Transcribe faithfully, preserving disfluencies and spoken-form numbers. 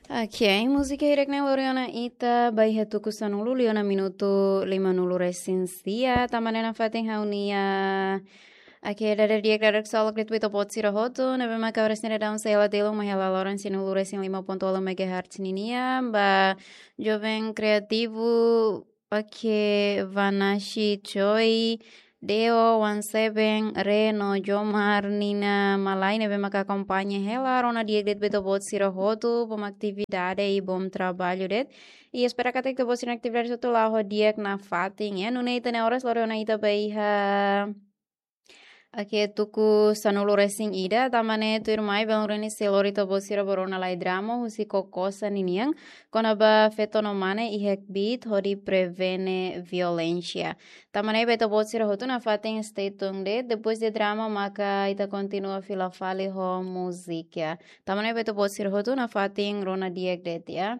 Ok, múzika hirak ne'e lori ona ita ba iha tuku sanulu liu ona minutu lima nulu resin sia, tanba ne'e nafatin ha'u-nia. Ok, dada di'ak, dada solok de'it ba ita-boot sira hotu ne'ebé maka oras ne'e daudaun sei hela telun mai hela loron cem nulu resin lima ponto nol megahertz ninian, ba Joven Kreativu, ok, Vanashi Choi, Deo, One Seven, Reno, Jomar, Nina Malai ne'ebé maka akompaña hela, rona di'ak de'it ba ita-boot sira hotu, bom atividade i bom traballu de'it. I espera katak ita-boot sira-nia atividade hotu la'o ho di'ak nafatin, ya. Nune'e ita-nia oras lori ona ita ba iha, ok, tuku sanulu resin ida, tanba ne'e tuirmai belun reni sei lori ita-boot sira ba rona lai drama husi Kokosa ninian, kona-ba feto no mane iha kbiit hodi prevene violénsia. Tanba ne'e ba ita-boot sira hotu nafatin stay tuned de'it, depois de drama maka ita kontinua fila fali ho múzika. Tanba ne'e ba ita-boot sira hotu nafatin rona di'ak de'it, ya.